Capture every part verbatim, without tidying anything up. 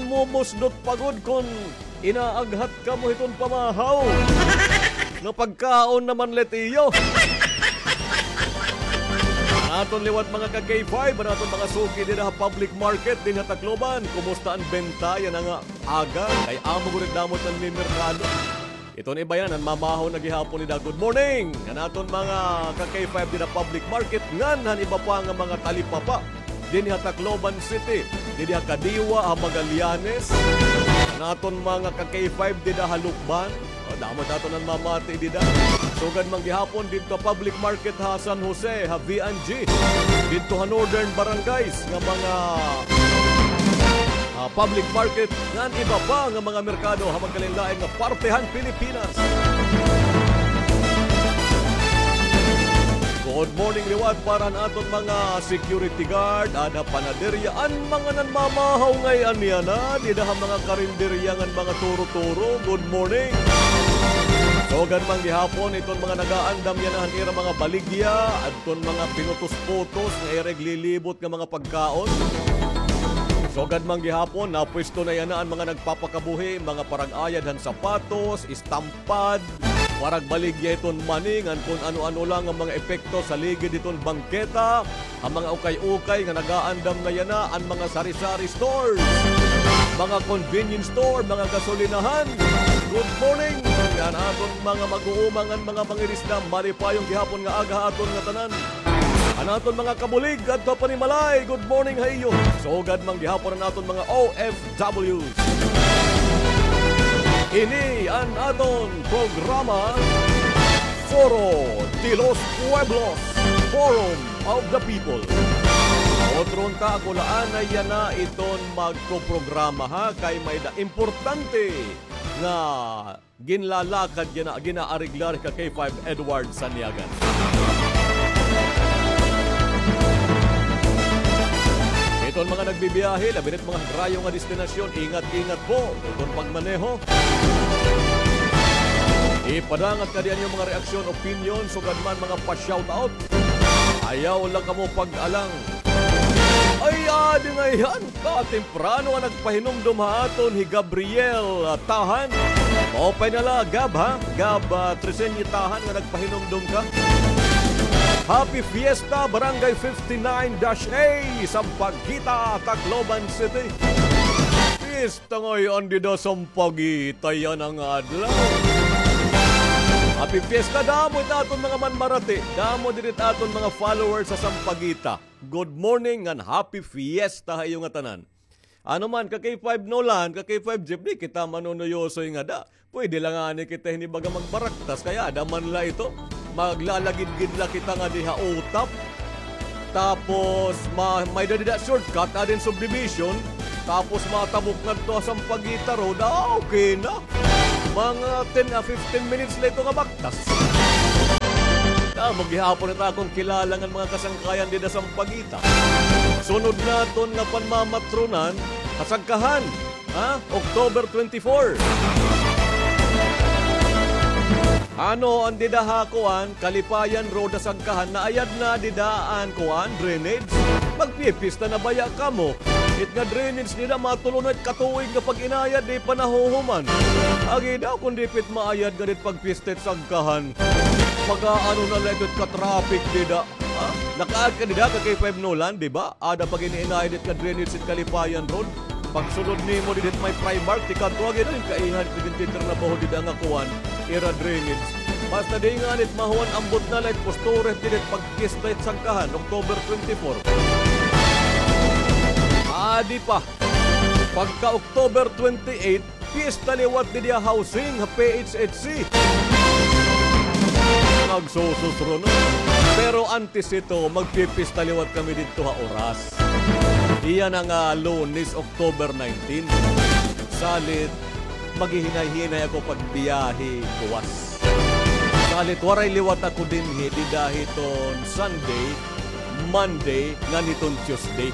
Mumusdot pa gud kon inaaghat kamo hiton pamahaw. Nga pagkaon naman la it iyo. An aton liwat mga ka-K five, an aton mga suki dida ha public market dinhi ha Tacloban. Kumusta an benta yana nga aga? Kay amo gud it damo it nanmimerkado. Iton iba yana, nanmamahaw na gihapon dida. Good morning! An aton mga ka-K five dida public market, ngan han iba pa nga mga talipapa dinhi ha Tacloban City, didi ha Kadiwa, ha Magallanes. An aton mga ka-K five dida ha Lucban. O, damo it aton nanmamati dida. Sugad man gihapon didto ha public market ha San Jose, ha V and G. Didto ha Northern Barangays nga mga, ah, public market ngan iba pa nga mga merkado ha magkalain-lain nga parte han Pilipinas. Good morning liwat para han aton mga security guard, ada panaderya, an mga nanmamahaw ngay-an yana, dida ha mga karinderya ngan mga turo-turo. Good morning. Sugad man gihapon iton mga nagaandam yana han ira mga baligya, adton mga pinutos-putos nga ira iglilibot nga mga pagkaon. Sugad man gihapon, napwesto na yana an mga nagpapakabuhi, mga parag-ayad han sapatos, estampad, parag-baligya hiton mani, ngan kon ano-ano la nga mga epekto sa ligid hiton bangketa, an mga ukay-ukay nga nagaandam na yana, an mga sari-sari stores, mga convenience store, mga gasolinahan. Good morning! An aton mga mag-uuma ngan mga mangirisda, malipayon gihapon nga aga ha aton ngatanan. An aton mga kabulig adto ha panimalay, good morning ha iyo. Sugad man gihapon an aton mga O F Ws. Ini an aton programa, Foro de los Pueblos, Forum of the People. Otro unta, ako la anay yana iton magpoprograma, ha, kay may-ada importante nga ginlalakad yana, ginaareglar hi ka-K five Edward Saniagan. Iton mga nagbibiyahe, labi na it mga ha karayo nga destinasyon, ingat-ingat po iton pagmaneho. Ipadangat kadi an iyo mga reaksyon, opinyon, sugad man mga pa-shoutout. Ayaw la kamo pag-alang. Ay, adi ngay-an. Katemprano nga nagpahinumdom ha aton hi Gabriel, ah, Tahan. Maupay na la, Gab, ha? Gab, ah, Tresenia Tahan nga nagpahinumdom ka. Happy Fiesta, Barangay fifty-nine dash A, Sampaguita, Tacloban City. Fiesta ngay-an dida Sampaguita yana nga adlaw. Happy Fiesta, damo it aton mga manmarati, damo didi it aton mga followers ha Sampaguita. Good morning ngan happy fiesta ha iyo ngatanan. Ano man, ka-K five Nolan, ka-K five Jeff, di kita manunuyosoy ngada. Pwede la ngani kita hini baga magbaraktas, kay ada man la ito. Maglalagidgid la kita ngadi ha utap. Tapos, ma-, may-ada dida shortcut, ada hin subdivision. Tapos, matabok ngadto ha Sampaguita Road. Ah, okay na. Mga ten a fifteen minutes la ito nga baktas. Damo gihapon it akon kilala ngan mga kasangkayan dida Sampaguita. Sunod naton nga panmamatronan, ha Sagkahan, ha? October twenty-four. Ano an dida ha kuan, Kalipayan Road ha Sagkahan, naayad na dida an kuan, drainage? Magpipista na baya kamo? It nga drainage dida, matulo na it katuig nga pag-inayad, di pa nahuhuman. Agi daw, kon di pa it maayad nga dit pagpista it Sagkahan. Pag-aano na la ito it ka-traffic dida. Ha? Nakaagi ka dida, ka-K five Nolan, di ba? Ada pag-iinayad it nga drainage it Kalipayan Road. Pagsulod nimo didi it may Primark, tikadto agi na hin kaiha it gintitrabaho dida nga kuan, ira drainage. Basta di ngani it mahuman, ambot na la it postura didi it pagpista it Sagkahan, October twenty-four. Adi pa. Pagka October twenty-eight, pista liwat didi ha housing, ha P H H C. Nagsususro na. Pero antes ito, magpipista liwat kami didto ha Oras. Iya na nga Lunes, October nineteen. Salit, maghihinay-hinay ako pagbiyahe kuwas. Salit, waray liwat ako dinhi, dida hiton Sunday, Monday, ngan hiton Tuesday.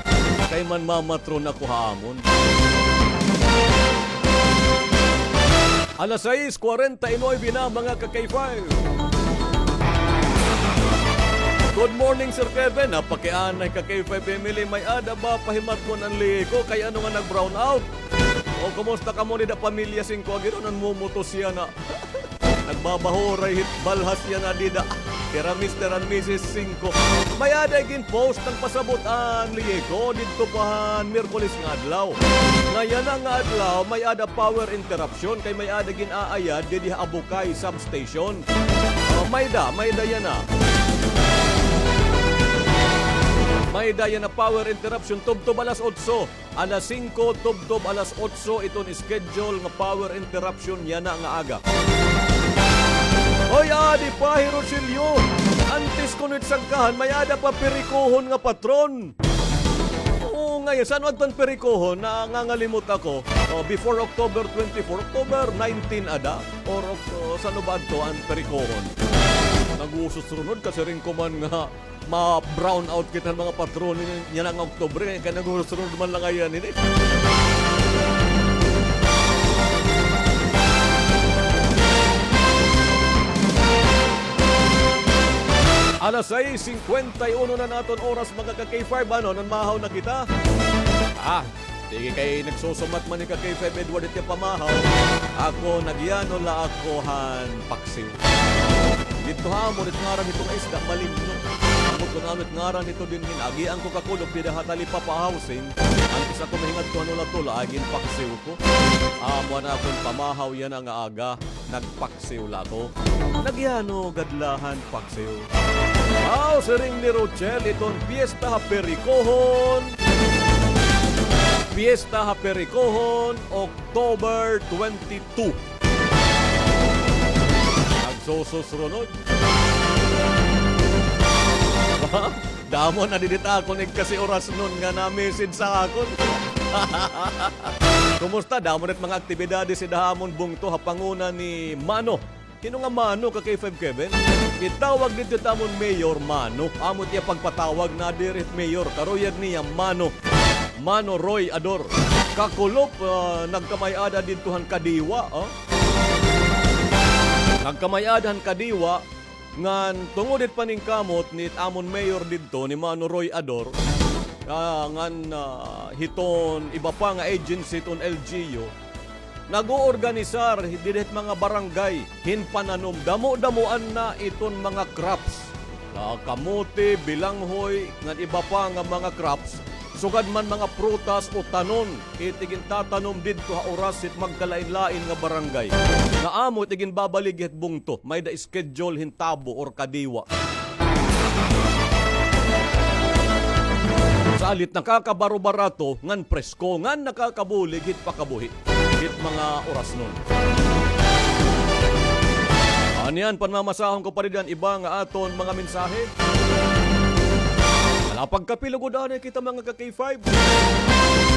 Kay manmamatron ako ha amon. Alas sais kwarenta y nuebe na, mga ka-K five. Good morning, Sir Kevin. Napakianay ka-K five family. May-ada ba pahimatkon an lihi ko? Kay ano nga nag-brown out? O, kumusta kamo dida, pamilya Singko? Agi daw nanmumutos yana. Nagbabahuray hit balhas yana dida. Kira Mister and Missus Singko. May-ada gin-post nagpasabot an Lieko didto pa han Miyerkules nga adlaw. Nga yana nga adlaw, may-ada power interruption kay may-ada gin-aayad didi ha Abukay Substation. O, may-ada, may-ada yana. May-ada yana power interruption tubtob alas otso. Alas singko tubtob alas otso iton schedule nga power interruption yana nga aga. Oy, adi pa, Hi Rogelio. Antes kuno it sagkahan, may-ada pa perikohon nga patron. Oo, ngay-an, san-o adto an perikohon? Nangangalimot ako. O, before October twenty-four, October nineteen ada? Or Oc-, o, san-o ba adto an perikohon? Naghuhusos runod, kasiring ko man nga ma-brown out kita han mga patron yana nga Oktubre, kay naghuhusos runod man la ngay-an ini. Alas sais singkwenta y uno na an aton oras, mga ka-K five, ano, nanmahaw na kita? Ah, sige, kay nagsusumat man hi ka-K five Edward it iya pamahaw. Ako, nagyano la ako han paksiw. Didto ha amon, it ngaran hito nga isda, malimno. Ambot kon ano it ngaran hito dinhi, agian ko kakulop dida ha Talipapa Housing. Antes ako mahingadto han Olatula, ay ginpaksiw ko. Amo an akon pamahaw yana nga aga, nagpaksiw la ako. Nagyano gad la han paksiw. Aw, siring ni Rochelle, iton piyesta ha Perikohon. Piyesta ha Perikohon, October twenty-two. Nagsusus runod. Damo na didi it akon igkasi-orasnon nga na-message sa akon. Kumusta? Damo na it mga aktibidades dida ha amon bungto ha panguna ni Mano. Hin-o nga Mano, ka-K five Kevin? Itawag didto it amon mayor, Mano. Amo it iya pagpatawag, na diri it mayor. Karuyag niya, Mano. Mano Roy Ador. Kakulop, ah, nagkamay-ada didto han Kadiwa, oh. Nagkamay-ada han Kadiwa, ngan tungod hit paningkamot nit amon mayor didto, ni Mano Roy Ador, ah, ngan, ah, hiton iba pa nga agency hiton L G U, nag-oorganisar dida hit mga barangay hin pananom. Damo-damoan na iton mga crops. Ah, kamote, bilanghoy, ngan iba pa nga mga crops. Sugad man mga prutas o tanon, it igintatanom didto ha oras hit magkalain-lain nga barangay. Nga amo it iginbabaligya hit bungto, may-ada schedule hin tabo or Kadiwa. Salit nakakabaro-barato, ngan presko, ngan nakakabulig hit pakabuhi hit mga orasnon. Ania an panmamasahon ko pa didi an iba nga aton mga mensahe. Hala, pagkape lugod anay kita, mga ka-K five.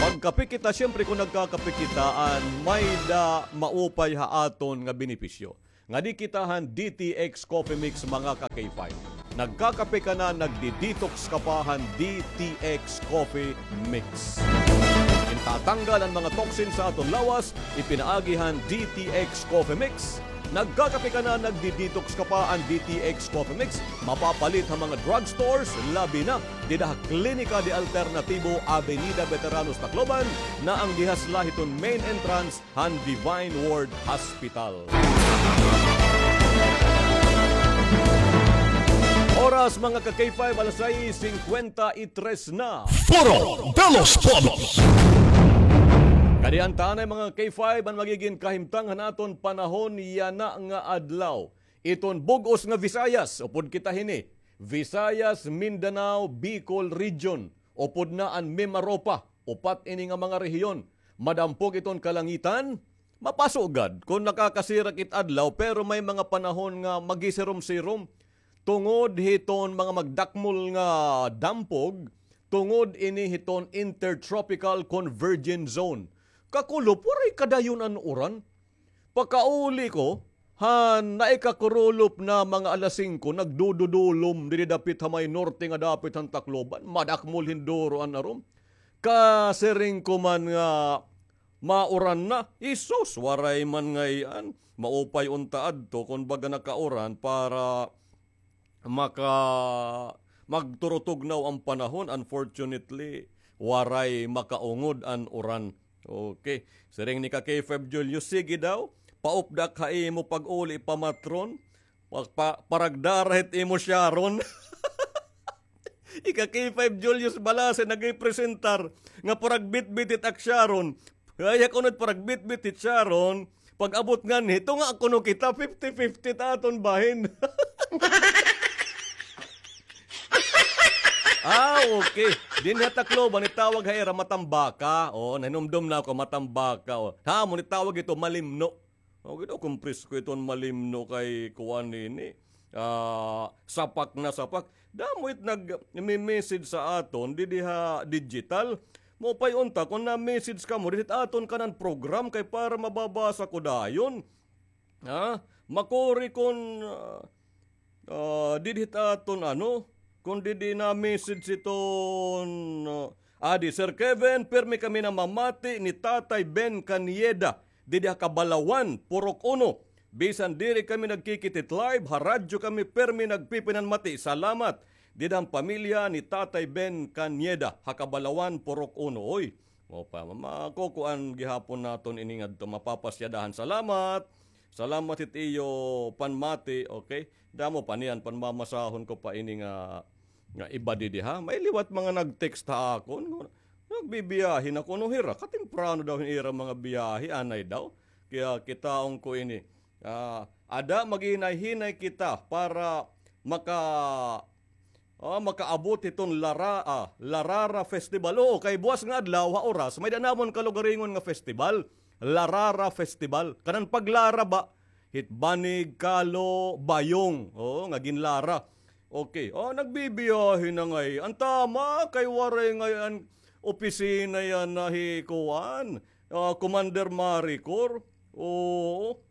Pagkape kita, siyempre, kon nagkakape kita, an may-ada maupay ha aton nga benepisyo. Ngadi kita han D T X Coffee Mix, mga ka-K five. Nagkakape ka na, nagdi-detox ka pa han D T X Coffee Mix. Gintatanggal an mga toxin sa aton lawas, ipinaagi han D T X Coffee Mix. Nagkakape ka na, nagdi-detox ka pa, an D T X Coffee Mix mapapalit ha mga drugstores, labi na dida ha Klinika de Alternativo, Avenida Veteranos, Tacloban, na an dihas la hiton main entrance han Divine Word Hospital. Oras, mga ka-K five, alas sais singkwenta y tres na. Foro de los Pueblos. Kadi anay, mga K five, an magigin kahimtang han aton panahon yana nga adlaw. Iton bug-os nga Visayas, upod kita hini, Visayas, Mindanao, Bicol Region, upod na an Mimaropa. Upat ini nga mga rehiyon. Madampog iton kalangitan, mapaso gad kon nakakasirak it adlaw, pero may mga panahon nga magisirom-sirom tungod hiton mga magdakmol nga dampog, tungod ini hiton Intertropical Convergence Zone. Kakulop, waray kadayon an uran. Pakauli ko, han naikakurulop na mga alas singko, nagdududulom didi dapit ha may norte nga dapit han Tacloban, madakmol hin duro an arom. Kasiring ko man nga mauran na, Hesus, waray man ngay-an. Maupay unta adto kon baga nakauran para maka-, magturutugnaw an panahon. Unfortunately, waray makaungod an uran. Okay. Siring ni ka K five Julius, sige daw. Paupda ak ha imo pag-uli pamatron. Pa, pa, paragdara hit imo Sharon. Ika K five Julius Balase nagrepresentar nga paragbitbit hit ak Sharon. Kaya kuno it paragbitbit hit Sharon. Pag-abot nganhi, tunga kuno kita, fifty fifty ta aton bahin. Ah, okay. Dinhi ha Tacloban, itawag ha ira matambaka. Oo, nahinumdom na ako, matambaka. O. Ha, amo ni tawag ito, malimno. Okay daw, kung presko iton malimno kay kuan nini. Ah, sapak na sapak. Damo it nag-message sa aton, didi ha digital. Maupay unta, kung na-message kamo, didi ha aton kanan program kay para mababasa ko dayon. Ha? Makuri kon, ah, ah, didi hit aton ano, kon didi na-message iton, ah, adi, Sir Kevin, pirmi kami namamati ni Tatay Ben Canieda, didi ha Kabalawan, Purok Uno. Bisan diri kami nagkikit hit live, ha radyo kami pirmi nagpipinanmati. Salamat. Didi han pamilya ni Tatay Ben Canieda, ha Kabalawan, Purok Uno. Oy, o pa, ma-, makukuan gihapon naton ini ngadto, mapapasyadahan. Salamat. Salamat hit iyo panmati, okay? Damo pa niyan, panmamasahon ko pa ini nga, nga iba didi, ha? May liwat mga nag-text ha akon. Nagbibiyahe na kuno hira. Katemprano daw hin ira mga biyahe, anay daw. Kaya kitaon ko ini. Ah, ada, maghinay-hinay kita para maka- Ah, makaabot hiton Lara-, ah, Larara Festival. Oo, kay buwas nga adlaw ha Oras, may-ada namon kalugaringon nga festival. Larara Festival. Kanan paglara ba? Hit banig, kalo, bayong. Oo, nga ginlara. Okay. Oh, nagbibiyahe na ngay-an. An tama, kay waray ngay-an opisina yana hi kuan. Ah, Commander Maricor. Oo.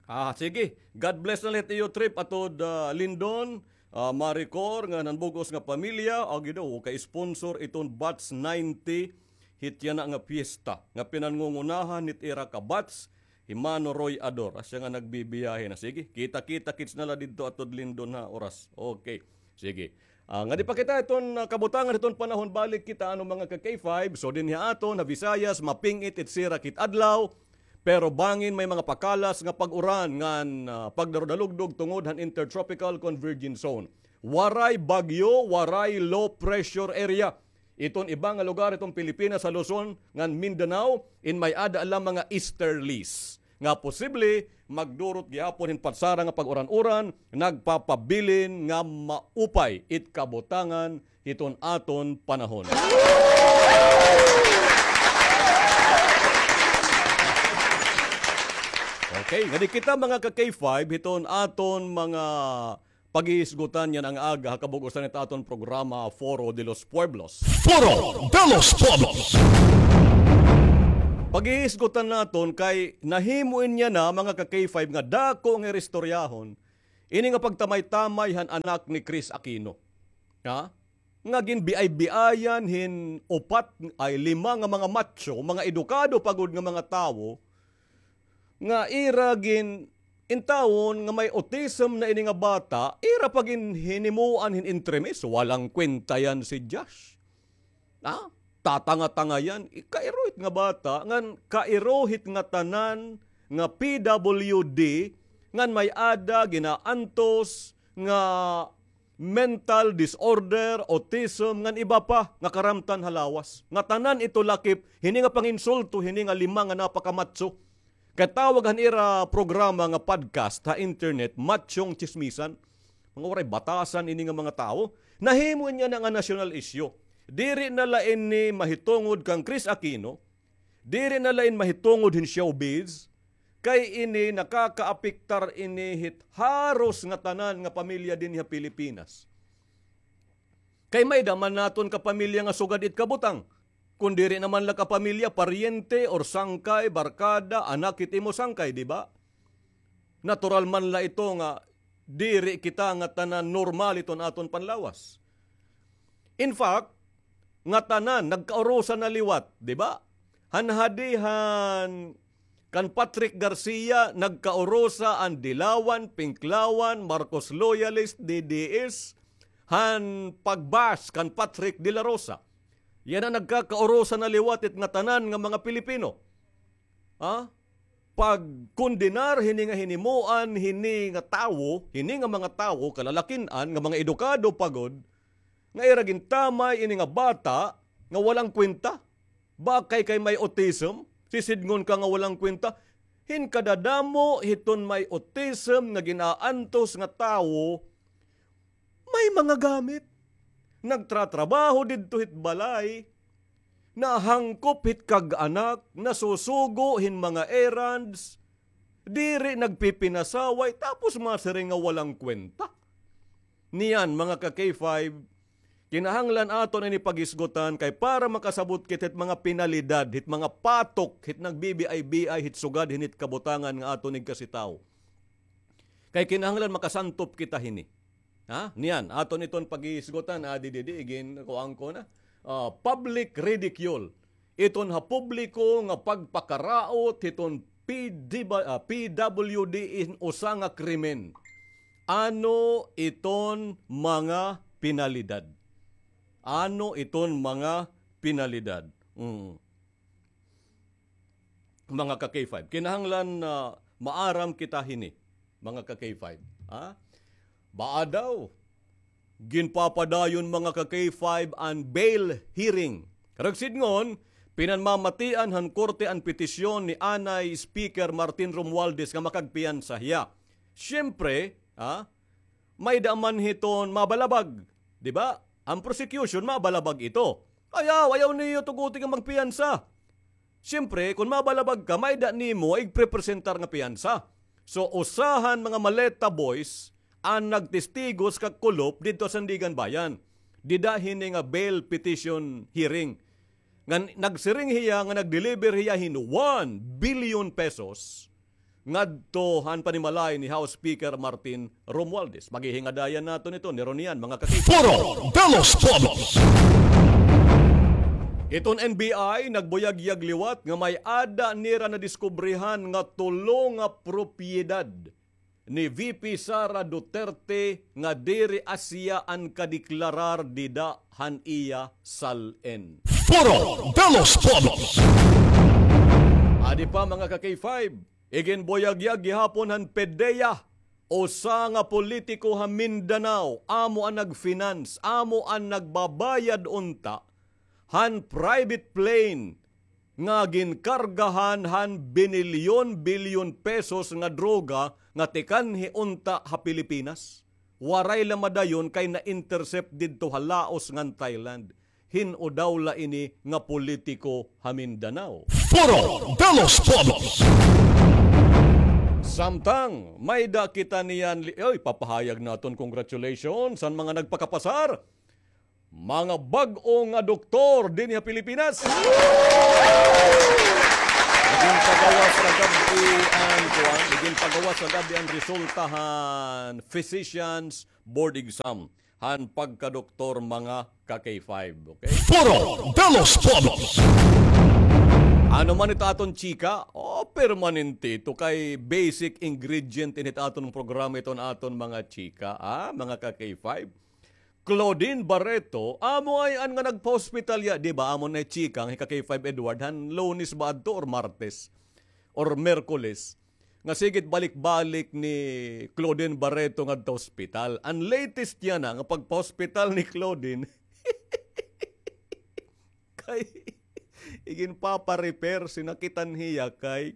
Ah, sige. God bless na la hit iyo trip, Atod, ah, Lindon, ah, Maricor, ngan an bug-os nga pamilya. Agi daw, kay sponsor iton Batch ninety, hit yana nga piyesta, nga pinanngungunahan hit ira ka batch, hi Mano Roy Ador. Asya nga nagbibiyahe na. Sige, kita-kita kits na la didto, Atod Lindon, ha, Oras. Okay. Sige. Ah, ngadi pa kita iton, ah, kabutangan hiton panahon, balik kita, ano, mga ka-K five. So, dinhi ha aton ha Visayas, maping-it it sirak hit adlaw, pero bangin may mga pakalas nga pag-uran ngan, ah, pagdarudalugdog tungod han Intertropical Convergence Zone. Waray bagyo, waray low pressure area. Iton iba nga lugar hiton Pilipinas, ha Luzon ngan Mindanao, in may-ada la mga easterlies nga posible magdurot gihapon hin patsara nga pag-uran-uran, nagpapabilin nga maupay it kabutangan hiton aton panahon. Okay, ngadi kita, mga ka-K five, hiton aton mga paghihisgutan yana nga aga ha kabug-osan hit aton programa, Foro de los Pueblos. Foro de los Pueblos. Paghihisgutan naton kay nahimo ini yana, mga ka-K five, nga dako nga ira istoryahon, ini nga pagtamay-tamay han anak ni Chris Aquino. Ha? Nga ginbiay-biayan hin upat ay lima nga mga macho, mga edukado pa gud nga mga tawo, nga ira gin-, intawon nga may autism na ini nga bata, ira pa ginhinimuan hin entremis, walang kwenta yan si Josh. Ha? Tatanga-tanga yan. I-, kairuhit nga bata, ngan kairuhit nga tanan nga P W D, ngan may-ada ginaantos nga mental disorder, autism, ngan iba pa nga karamtan ha lawas. Nga tanan ito lakip hini nga panginsulto hini nga lima nga napakamatso. Kay tawag han ira programa nga podcast ha internet, Matsyong Tsismisan. Mga waray batasan ini nga mga tawo. Nahimo niya na nga national issue. Diri na la ini mahitungod kan Chris Aquino. Diri na la ini mahitungod hin showbiz, kay ini nakakaapektar ini hit haros nga tanan nga pamilya dinhi ha Pilipinas. Kay may-ada man naton kapamilya nga sugad it kabutang. Kon diri na man la kapamilya, paryente or sangkay, barkada, anak hit imo sangkay, di ba? Natural man la ito nga diri kita nga tanan normal iton aton panlawas. In fact, nga tanan nagkaurusa na liwat, di ba? Han hadihan kan Patrick Garcia, nagkaurusa an Dilawan, Pinklawan, Marcos loyalist, D D S, han pag-bash kan Patrick de la Rosa. Yana nagkakaurusan na liwat it ngatanan nga mga Pilipino. Ha? Pagkondenar hini nga hinimuan, hini nga tawo, hini nga mga tawo, kalalakin-an, nga mga edukado pa gud, nga ira gintamay ini nga bata nga walang kwenta. Bakay kay may autism, sisidngon ka nga walang kwenta. Hin kadadamo hiton may autism nga gin-aantos nga tawo, may mga gamit. Nagtratrabaho didto hit balay, nahangkop hit kag-anak, nasusugo hin mga errands, diri nagpipinasaway, tapos masiring nga walang kwenta. Niyan, mga ka-K five, kinahanglan aton ini paghisgutan kay para makasabot kita hit mga penalidad, hit mga patok, hit nagbibiay-biay, hit sugad, hit kabutangan nga aton igkasitaw. Kay kinahanglan makasantop kita hini. Ha? Niyan, aton iton paghisgutan, adi didi, igin, kuan ko na. Ah, public ridicule. Iton ha publiko nga pagpakaraot hiton P D ba, ah, P W D in usa nga krimen. Ano iton mga penalidad? Ano iton mga penalidad? Mm. Mga ka-K five. Kinahanglan na maaram kita hini, mga ka-K five. Ha? Baa daw, ginpapadayon, mga ka-K five, an bail hearing. Karuyag sidngon, pinanmamatian han korte an petisyon ni anay Speaker Martin Romualdez nga makagpiyansa hiya. Siyempre, ha, may-ada man hiton mabalabag, di ba? An prosecution, mabalabag ito. Ayaw, ayaw niyo tuguti nga magpiyansa. Siyempre, kon mabalabag ka, may-ada nimo igprepresentar nga piyansa. So, usa han mga Maleta Boys an nagtestigos kag kulop didto ha Sandiganbayan. Dida hini nga bail petition hearing. Nga n-, nagsiring hiya nga nag-deliver hiya hin one billion pesos ngadto han panimalay ni House Speaker Martin Romualdez. Maghihingadayan naton ito, ni Ronian, mga ka-K five. Foro de los Pueblos. Iton N B I nagbuyagyag liwat nga may-ada nira nadiskubrihan nga tulo nga propiedad ni V P Sara Duterte nga diri asya an kadeklarar dida han iya sal-en. Foro de los Pueblos. Adi pa, mga ka-K five, iginbuyagyag gihapon han PDEA, usa nga politiko ha Mindanao, amo an nag-finance, amo an nagbabayad unta han private plane nga ginkargahan han binilyon-bilyon pesos nga droga nga tikanhi unta ha Pilipinas. Waray la madayon kay na-intercept didto ha Laos ngan Thailand. Hin-o daw la ini nga politiko ha Mindanao. Foro de los Pueblos. Samtang may-ada kita niyan li-, oy, papahayag naton congratulations han mga nagpakapasar. Mga bag-o nga doktor dinhi ha Pilipinas. Iginpagawas kagab-i an kuan, iginpagawas kagab-i an resulta han physicians board exam han pagkadoktor, mga ka-K five, okay? Foro de los Pueblos. Ano man it aton chika? Oh, permanente ito kay basic ingredient ini it aton programa, iton aton mga chika, ah, mga ka-K five. Claudine Barreto, amo ay an nga nagpa-hospital hiya, di ba? Amo na chika an hi ka-K five Edward, han Lunes ba adto or Martes? Or Miyerkules? Nga sige it balik-balik ni Claudine Barreto ngadto ospital. An latest yana nga pagpa-hospital ni Claudine, kay iginpapa-repair, sinakitan hiya kay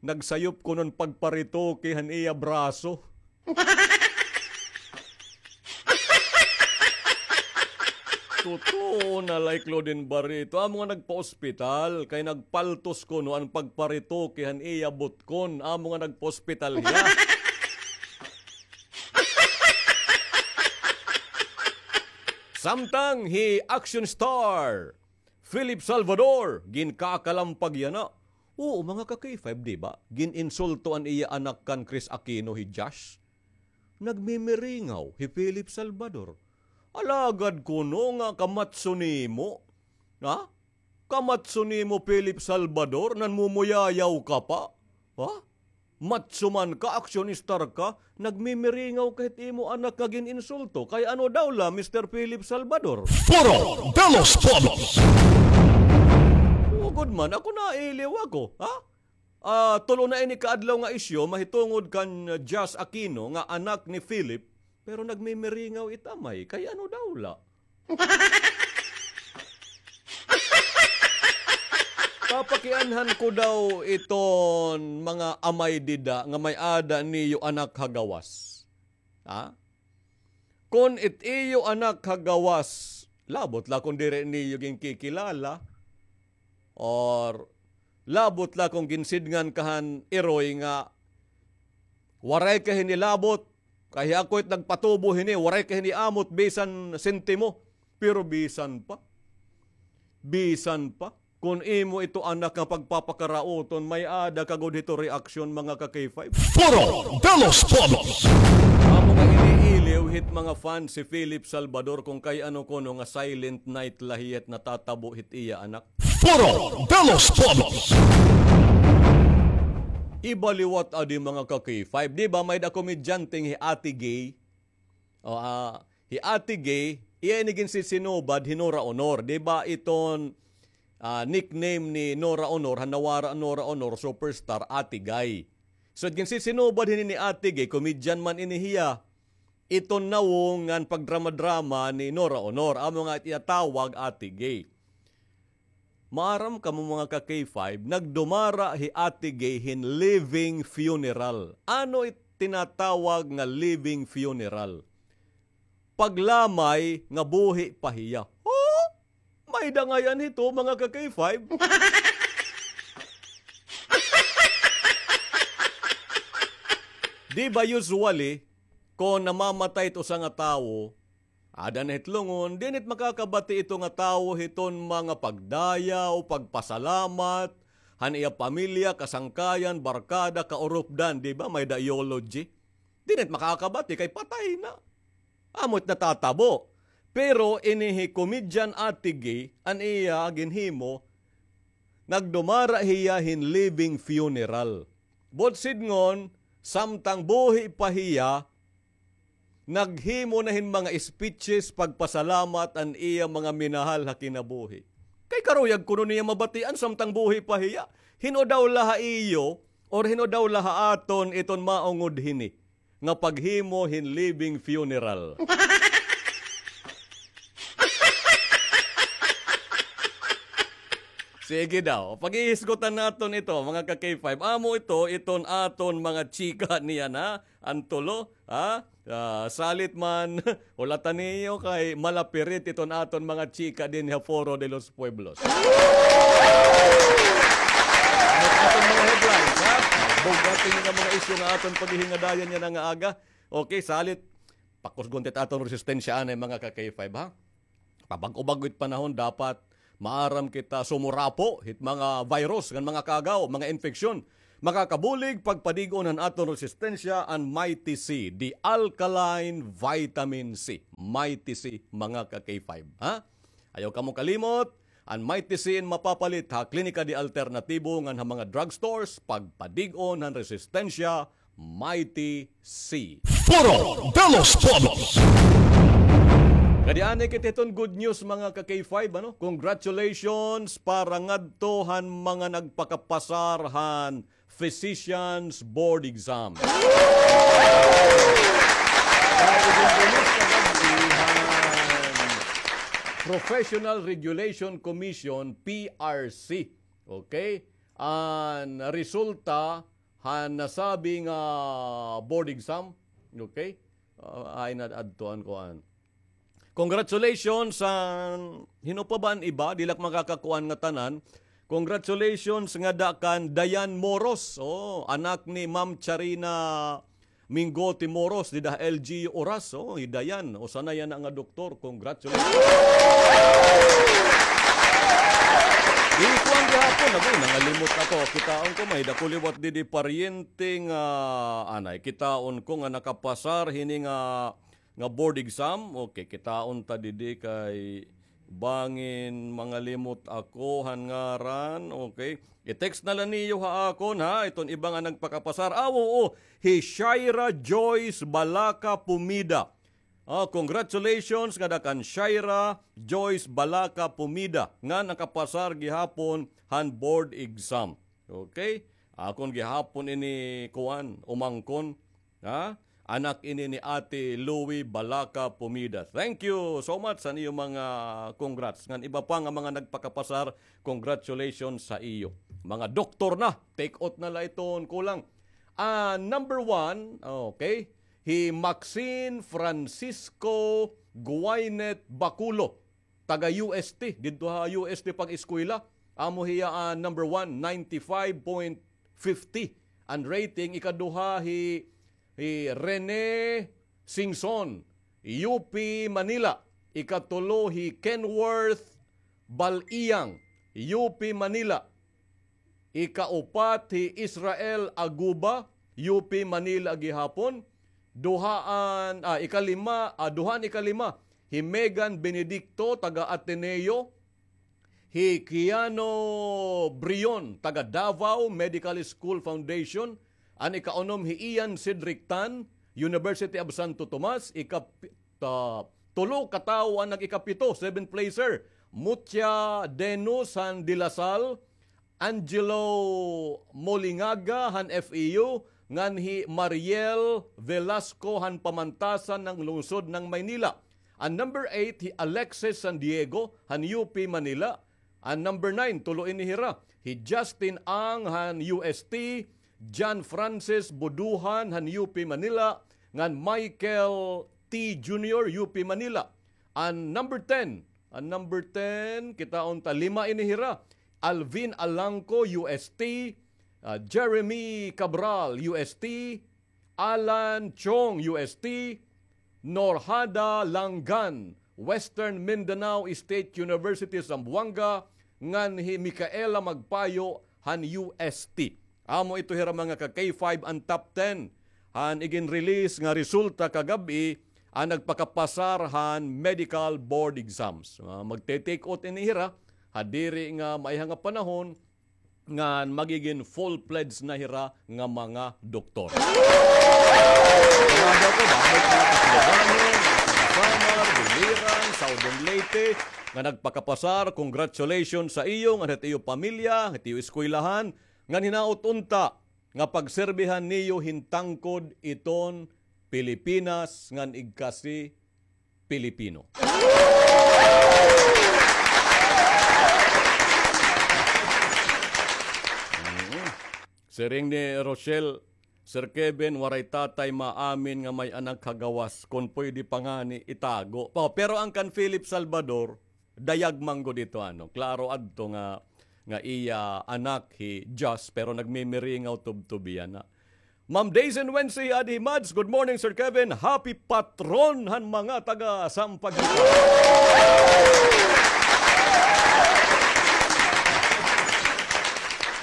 nagsayop kuno an pagparetoke han iya braso. Totoo na la, Claudine Barreto. Amo nga nagpa-ospital kay nagpaltos kuno an pagparetoke han iya butkon. Amo nga nagpa-ospital hiya. Samtang hi action star Philip Salvador, ginkakalampag yana. Oo, mga ka-K five, di ba? Gin-insulto an iya anak kan Kris Aquino, hi Josh. Nagmimiringaw hi Philip Salvador. Alagad kuno nga kamatso nimo. Ha? Kamatso nimo, Philip Salvador, nanmumuyayaw ka pa? Ha? Macho man ka, aksyonistar ka, nagmimiringaw ka hit imo anak nga gin-insulto. Kay ano daw la, Mister Philip Salvador? Foro de los Pueblos. Ugod man, ako nailiw ako, ha? Ah, tulo na ini ka adlaw nga isyu, mahitungod kan Jazz Aquino nga anak ni Philip, pero nagmimiringaw it amay. Kay ano daw la? Papakianhan ko daw iton mga amay dida nga may-ada niyo anak ha gawas. Ha? Kon it iyo anak ha gawas, labot la kon diri niyo ginkikilala, or labot la kon ginsidngan ka han iroy nga waray ka hini labot, kay ako it nagpatubo hini, waray ka hini amot bisan sentimo. Pero bisan pa, bisan pa, kon imo ito anak nga pagpapakarauton, may-ada ka gud hito reaksyon, mga ka-K five. Foro de los Pueblos. Amo nga iniiliw hit mga fans si Philip Salvador kon kay ano kuno nga silent night la hiya hit natatabo hit iya anak. Foro de los Pueblos. Iba liwat adi, mga ka-K five. Di ba may-ada komedyanteng hi Ate Gay? O, ah, hi Ate Gay, iya ini ginsisinubad hi Nora Aunor. Di ba iton, ah, nickname ni Nora Aunor, han nawara Nora Aunor, superstar, Ate Gay. So, ginsisinubad hini ni Ate Gay, komedyan man ini hiya. Iton nawong ngan pagdrama-drama ni Nora Aunor, amo nga it iya tawag Ate Gay. Maaram kamo, mga ka-K five, nagdumara hi Ate Gay hin living funeral. Ano it tinatawag nga living funeral? Paglamay nga buhi pa hiya. Oh? May dangayan hito, mga ka-K five. Di ba usually, kon namamatay it usa nga tawo, ada na hit lungon, diin it makakabati ito nga tawo hiton mga pagdayaw, pagpasalamat, han iya pamilya, kasangkayan, barkada, kaurupdan, di ba? May-ada eulogy. Diin it makakabati kay patay na. Amo it natatabo. Pero ini hi komedyan Ate Gay, an iya ginhimo, nagdumara hiya hin living funeral. Buot sidngon, samtang buhi pa hiya, naghimo na hin mga speeches pagpasalamat an iya mga minahal ha kinabuhi. Kay karuyag kuno niya mabatian samtang buhi pa hiya. Hin-o daw la ha iyo, or hin-o daw la ha aton iton maungod hini nga paghimo hin living funeral? Sige daw, paghihisgutan naton ito, mga ka-K five. Amo ito, iton aton mga chika niyan, ha? An tulo, ha? Ah, salit man, hulata niyo kay malapirit iton aton mga chika dinhi ha Foro de los Pueblos. Ano it aton mga headlines, ha? Bug-at ini nga mga isyu nga aton paghihingadayan yana nga aga. Okay, salit, pakusgon ta it aton resistensya anay, mga ka-K five, ha? Pabag-o-bag-o it panahon, dapat maaram kita sumurapo hit mga virus ngan mga kaagaw, mga infeksyon. Makakabulig pagpadig-on han aton resistensya an Mighty C, the alkaline vitamin C. Mighty C, mga ka-K five, ha? Ayaw kamo kalimot, an Mighty C in mapapalit ha Klinika de Alternatibo ngan ha mga drugstores, pagpadig-on han resistensya, Mighty C. Foro de los Pueblos. Kadi anay kita hiton good news, mga ka-K five, ano? Congratulations para ngadto han mga nagpakapasar han Physicians Board Exam. Professional Regulation Commission, P R C. Okay? An resulta han nasabi nga board exam. Okay? Ah, ay, na-, adto an kuan. Congratulations sa, hin-o pa ba an iba? Di la ak makakakuan nga tanan. Congratulations ngada kan Dayan Moros. Oh, anak ni Ma'am Charina Mingote Moros, dida L G U Oras. Oh, hi Dayan. Usa na yana nga doktor. Congratulations. Ikuan gihapon, agoy, nangalimot ako. Kitaon ko, may-ada ko liwat didi paryente nga, anay, kitaon ko nga nakapasar hini nga, nga board exam. Okay, kitaon ta didi kay bangin mangalimot ako han ngaran. Okay. I-text na la niyo ha akon, ha, iton iba nga nagpakapasar. Ah, oo, hi Shaira Joyce Balaca Pumida. Ah, congratulations ngada kan Shaira Joyce Balaca Pumida nga nakapasar gihapon han board exam. Okay? Akon gihapon ini kuan, umangkon. Ha? Anak ini ni Ate Louie Balaca Pumida. Thank you so much sa iyo mga congrats. Ngan iba pa nga mga nagpakapasar, congratulations sa iyo. Mga doktor na, take out na la iton kulang. Ah, number one, okay, hi Maxine Francisco Guaynet Baculo, taga U S T, didto ha U S T pag-eskwela. Amo hiya, ah, number one, ninety-five point fifty an rating. Ikaduha hi, hi Rene Singson, U P Manila. Ikatulo hi Kenworth Bal-iyang, U P Manila. Ikaupat hi Israel Aguba, U P Manila gihapon. Duhaan, ah, ikalima, ah, duhaan ikalima hi Megan Benedicto, taga Ateneo. Hi Kiano Brion, taga Davao Medical School Foundation. An ikaunom hi Ian Cedric Tan, University of Santo Tomas. Ikap-, ta-, tulo ka tawo an nag-ikapito, seventh placer. Mutia Denus han De La Salle, Angelo Molingaga han F E U, ngan hi Mariel Velasco han Pamantasan ng Lungsod ng Maynila. An number eight, hi Alexis San Diego han U P Manila. An number nine, tulo ini hira, hi Justin Ang han U S T, John Francis Buduhan han U P Manila, ngan Michael T Junior, U P Manila. An number ten, an number ten, kitaon ta, lima ini hira. Alvin Alangco, U S T, ah, Jeremy Cabral, U S T, Alan Chong, U S T, Norhada Langan, Western Mindanao State University, Zamboanga, ngan hi Micaela Magpayo han U S T. Amo ito hira mga ka K five an top ten han igin-release nga resulta kagab-i an nagpakapasar han medical board exams. Ah, magte-take out ini hira ha diri nga maiha nga panahon ngan magigin full-fledged na hira nga mga doktor. Sarado ako, damo mga Taclobanon, mga taga Samar, Biliran, Southern Leyte, nga nagpakapasar, congratulations sa iyo, ngan hit iyo pamilya, hit iyo eskwelahan, ngan hinaot unta, nga pagserbihan niyo hin tangkod iton Pilipinas ngan igkasi Pilipino. Mm. Siring ni Rochelle, Sir Kevin, waray tatay maamin nga may anak ha gawas. Kon pwede pa ngani, itago. Pa, pero an kan Philip Salvador, dayag man gud ito, ano. Klaro adto nga, nga iya anak hi Jus, pero nagmimiringaw tubtub iya na. Ma'am Daisy Wensi, adi hi Mads, good morning, Sir Kevin. Happy Patron han mga taga Sampaguita.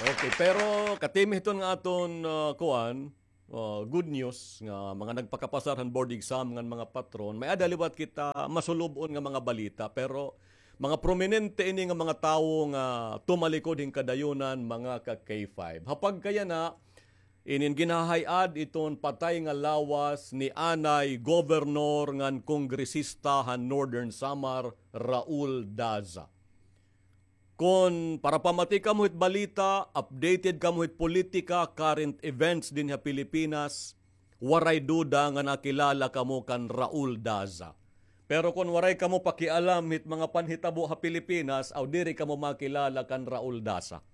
Okay, pero katimi hiton nga aton, ah, kuan, ah, good news nga mga nagpakapasar han board exam ngan mga patron, may-ada liwat kita masulub-on nga mga balita, pero mga prominente ini nga mga tawo nga tumalikod hin kadayunan, mga ka K five. Ha pagkayana, inin ginhahay-ad iton patay nga lawas ni anay gobernor ngan kongresista han Northern Samar, Raul Daza. Kon parapamati kamo hit balita, updated kamo hit politika, current events dinhi ha Pilipinas, waray duda nga nakilala kamo kan Raul Daza. Pero kon waray kamo pakialam hit mga panhitabo ha Pilipinas, aw diri kamo makilala kan Raul Daza.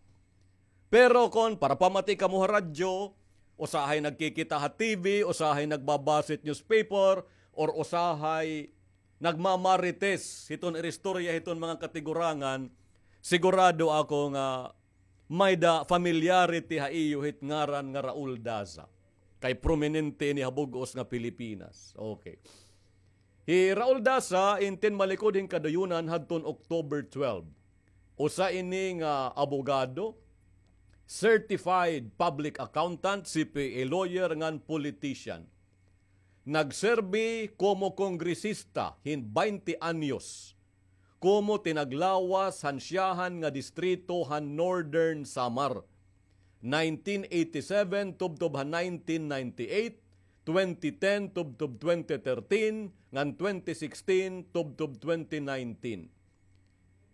Pero kon parapamati kamo ha radyo, usahay nagkikita ha T V, usahay nagbabasa hit newspaper, or usahay nagmamarites hiton iristorya hiton mga katigurangan, sigurado ako nga may-ada familiarity ha iyo hit ngaran nga Raul Daza. Kay prominente ini ha bug-os nga Pilipinas. Okay. Hi Raul Daza, in tinmalikod hin kadayunan hadton October twelve. Usa ini nga abogado, certified public accountant, C P A lawyer, ngan politician. Nagserbi komo kongresista hin baynte anyos, komo tinaglawas han siyahan nga distrito han Northern Samar. Nineteen eighty-seven tubtob ha nineteen ninety-eight, twenty ten tubtob twenty thirteen, ngan twenty sixteen tubtob twenty nineteen.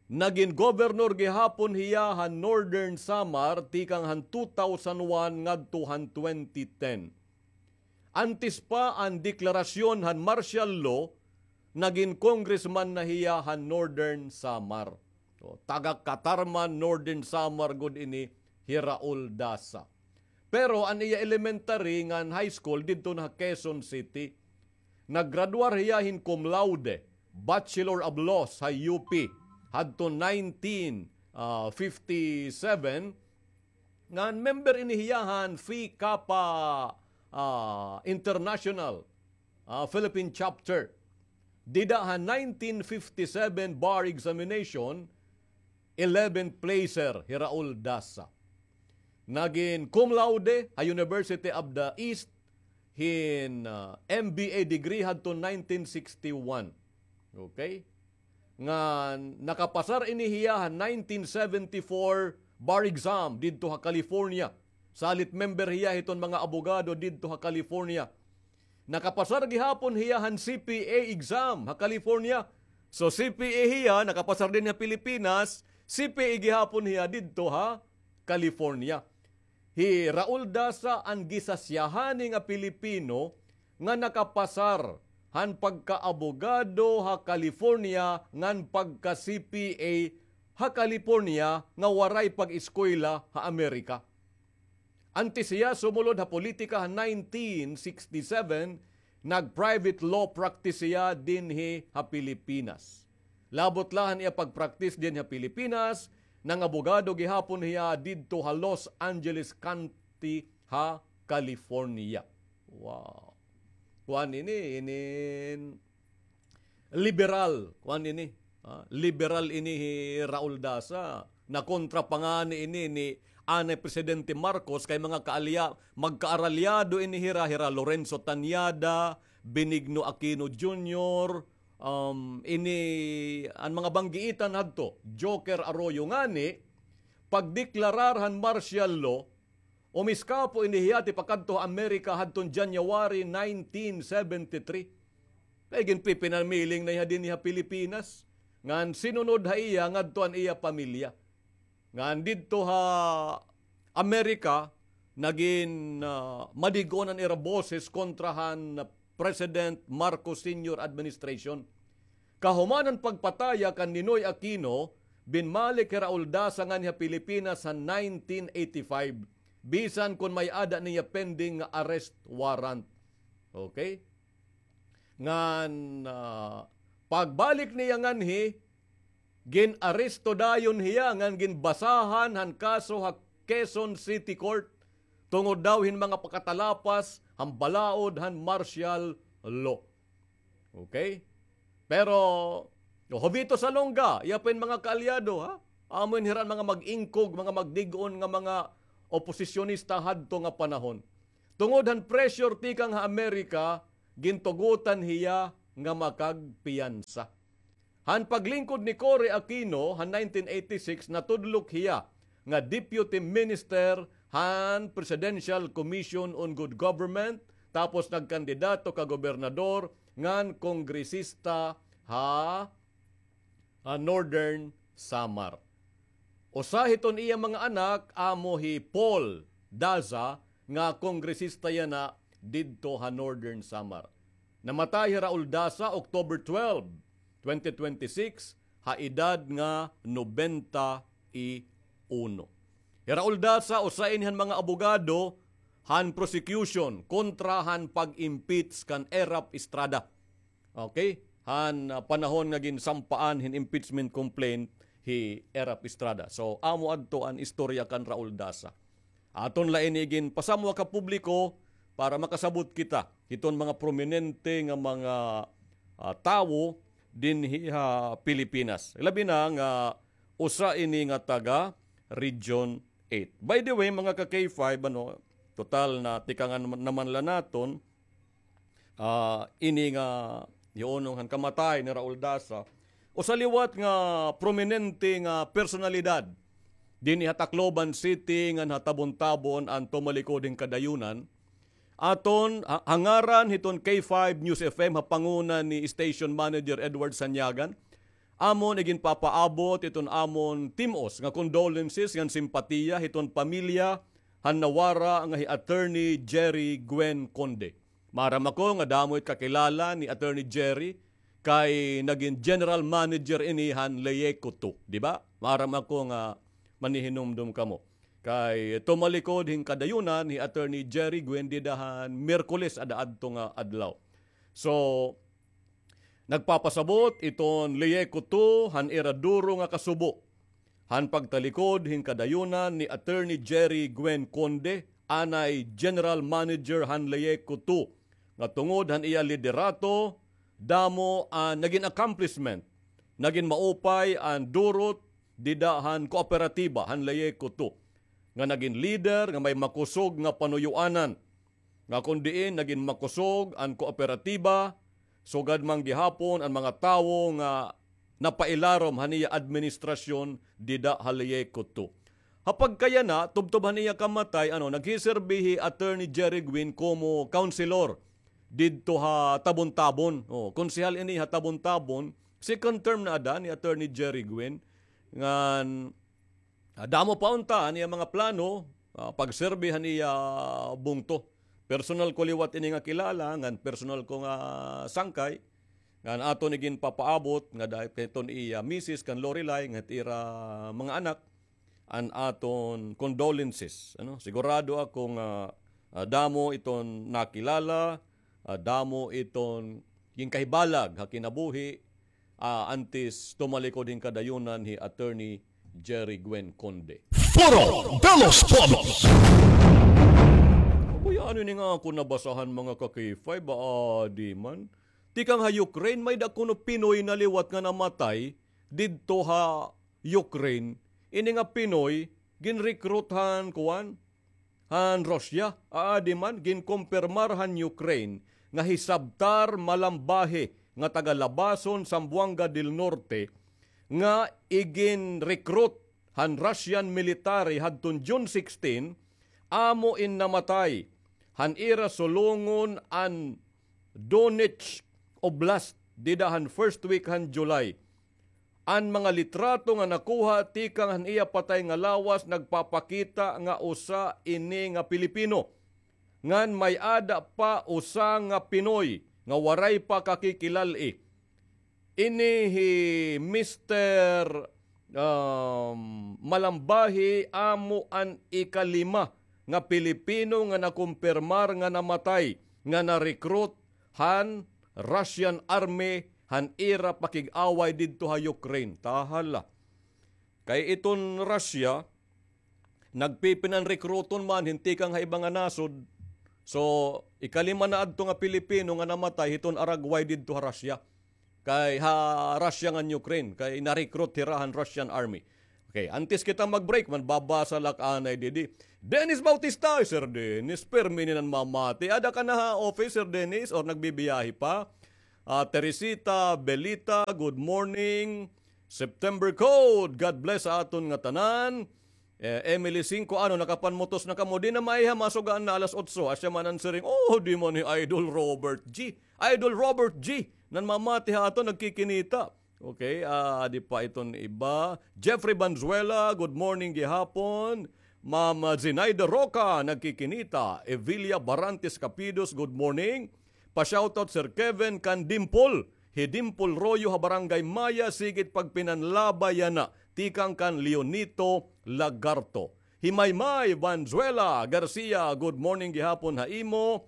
Nagin gobernador gihapon hiya han Northern Samar tikang han two thousand one ngadto han twenty ten. Antes pa an deklarasyon han martial law, nagin congressman na hiya han Northern Samar. So, taga Catarman, Northern Samar gud ini hi Raul Daza. Pero an iya elementary ngan high school didto na ha Quezon City. Naggraduar hiya hin cum laude, Bachelor of Laws ha U P, hadto nineteen fifty-seven, ngan member ini hiya han Phi Kappa, ah, International, ah, Philippine Chapter. Dida ha nineteen fifty-seven bar examination, eleventh placer hi Raul Daza. Nagin cum laude ha University of the East hin, ah, M B A degree hadto nineteen sixty-one. Okay? Ngan nakapasar ini hiya ha nineteen seventy-four bar exam didto ha California. Salit member hiya hiton mga abogado didto ha California. Nakapasar gihapon hiya han C P A exam ha California. So, C P A hiya, nakapasar dinhi ha Pilipinas, C P A gihapon hiya didto ha California. Hi Raul Daza an gisasiyahani nga Pilipino nga nakapasar han pagkaabogado ha California ngan pagka-C P A ha California nga waray pag-eskwela ha Amerika. Antes hiya sumulod ha politika ha nineteen sixty-seven, nag-private law practice hiya dinhi ha Pilipinas. Labot la han iya pag-practice dinhi ha Pilipinas, nangabogado gihapon hiya didto ha Los Angeles County ha California. Wow. Kuan ini, inin liberal, kuan ini. Ah, liberal ini hi Raul Daza. Nakontra pa ngani ini ni anay Presidente Marcos kay mga kaalya-, magkaaralyado ini hira, hira Lorenzo Tañada, Benigno Aquino Junior, um, ini an mga banggiitan hadto, Joker Arroyo ngani, pagdeklarar han martial law, umiskapo ini hiya tipakadto ha Amerika hadton January nineteen seventy-three. Kay ginpipinamiling na hiya dinhi ha Pilipinas. Ngan sinunod ha iya ngadto an iya pamilya. Ngan didto ha Amerika, nagin, ah, madig-on an ira boses kontra han President Marcos Senior administration. Kahuman han pagpataya kan Ninoy Aquino, binmalik hi Raul Daza nganhi ha Pilipinas ha nineteen eighty-five, bisan kon may-ada niya pending nga arrest warrant. Okay? Ngan, ah, pagbalik niya nganhi, gin-aresto dayon hiya ngan ginbasahan han kaso ha Quezon City Court tungod daw hin mga pakatalapas han balaod han martial law. Okay? Pero, Jovito Salonga, iya pa hin mga kaalyado, ha? Amo hin hira an mga mag-ingkog, mga magdig-on nga mga oposisyonista hadto nga panahon. Tungod han pressure tikang ha Amerika, gintugotan hiya nga makagpiyansa. Han paglingkod ni Cory Aquino han nineteen eighty-six, natudlok hiya nga Deputy Minister han Presidential Commission on Good Government, tapos nagkandidato ka gobernador ngan kongresista ha, ah, Northern Samar. Usa hiton iya mga anak amo hi Paul Daza nga kongresista yana didto ha Northern Samar. Namatay hi Raul Daza October twelve, twenty twenty-six, ha edad nga nobenta y uno. Hi Raul Daza usa ini han mga abogado han prosecution kontra han pag-impeach kan Erap Estrada. Okay? Han, ah, panahon nga ginsampaan hin impeachment complaint hi Erap Estrada. So, amo adto an istorya kan Raul Daza. Aton la ini ginpasamwak ha publiko para makasabot kita hiton mga prominente nga mga, ah, tawo dinhi ha Pilipinas. Labi na nga usa ini nga taga Region eight. By the way, mga ka-K five, ano, total natikangan naman la naton, ah, ini nga hiunong han kamatay ni Raul Daza, usa liwat nga prominente nga personalidad dinhi ha Tacloban City ngan ha Tabon-Tabon an tumalikod hin kadayunan. Aton ha, ha ngaran hiton K five News F M ha panguna ni Station Manager Edward Sanyagan, amon iginpapaabot iton amon tim-os nga condolences ngan simpatiya hiton pamilya han nawara nga hi Attorney Jerry Gwen Conde. Maaram ako nga damo it kakilala ni Attorney Jerry kay nagin general manager ini han Leyeco two, di ba? Maaram ako nga manihinumdom kamo. Kay tumalikod hin kadayunan hi Attorney Jerry Gwen dida han Miyerkules ada adto nga adlaw. So, nagpapasabot iton Leyeco two han ira duro nga kasubo han pagtalikod hin kadayunan ni Attorney Jerry Gwen Conde, anay general manager han Leyeco two, nga tungod han iya liderato, damo an nagin accomplishment, nagin maupay an durot dida han kooperatiba han Leyeco two, nga nagin leader nga may makusog nga panuyoanan, nga kon diin nagin makusog an kooperatiba, sugad man gihapon an mga tawo nga napailarom han iya administrasyon dida ha Leyeco two. Ha pagkayana, tubtob han iya kamatay, ano, naghiserbi hi Attorney Jerry Gwen komo councilor didto ha Tabon-Tabon. O, konsehal ini ha Tabon-Tabon, second term na ada ni Attorney Jerry Gwen. Ngan, ah, damo pa unta an iya mga plano, ah, pagserbi han iya bungto. Personal ko liwat ini nga kilala, ngan personal ko nga sangkay, ngan aton iginpapaabot nga dahil kay iton iya misis kan Lorelai, ngan ira mga anak, an aton condolences, ano? Sigurado ako nga, ah, damo iton nakilala, ah, damo iton ginkahibalag ha kinabuhi, ah, antes tumalikod hin kadayunan hi Attorney Jerry Gwen Conde. Foro de los Pueblos. Agoy, ano ini nga ako nabasahan, mga ka-K five, ah, di man. Tikang ha Ukraine, may-ada kuno Pinoy na liwat nga namatay didto ha Ukraine. Ini nga Pinoy, ginrecruit han kuan, han Russia. Aadi man, ginkumpirmar han Ukraine nga hi Sabtar Malambahi nga taga Labason, Zamboanga del Norte, nga igin-recruit han Russian military hadton June sixteen, amo in namatay han ira sulongon an Donetsk Oblast dida han first week han July. An mga litrato nga nakuha tikang han iya patay nga lawas nagpapakita nga usa ini nga Pilipino. Ngan may-ada pa usa nga Pinoy nga waray pa kakikilal-i. Ini hi Mister, um, Malambahi amo an ikalima nga Pilipino nga nakumpirmar nga namatay nga na-recruit han Russian Army han ira pakig-away didto ha Ukraine. Tahala. Kay iton Russia, nagpipinan-rekruton man hin tikang ha iba nga nasod. So, ikalima na adto nga Pilipino nga namatay hiton aragway didto ha Russia. Kay ha Russia ngan Ukraine, kay na-recruit hira han Russian Army. Okay, antes kita mag-break, manbabasa la ak anay didi. Dennis Bautista, Sir Dennis, pirmi ini nanmamati. Ada ka na ha office, Sir Dennis, or nagbibiyahe pa? Ah, Teresita Belita, good morning. September code, God bless sa aton nga tanan. Eh, Emily Cinco, ano, nakapanmutos na kamo? Di na maiha, masugaan na alas otso. Asya man an siring, oh, di man hi Idol Robert G. Idol Robert G, nanmamati ha aton, nagkikinita. Okay, ah, di pa iton iba. Jeffrey Banzuela, good morning gihapon. Ma'am, ah, Zenaida Roca, nagkikinita. Evilia Barantes Capidos, good morning. Pa-shoutout, Sir Kevin, kan Dimple. Hi Dimple Royo ha Barangay Maya, sige it pagpinanlabay yana. Tikang kan Leonito Lagarto. Hi Maymay Banzuela Garcia, good morning gihapon ha imo.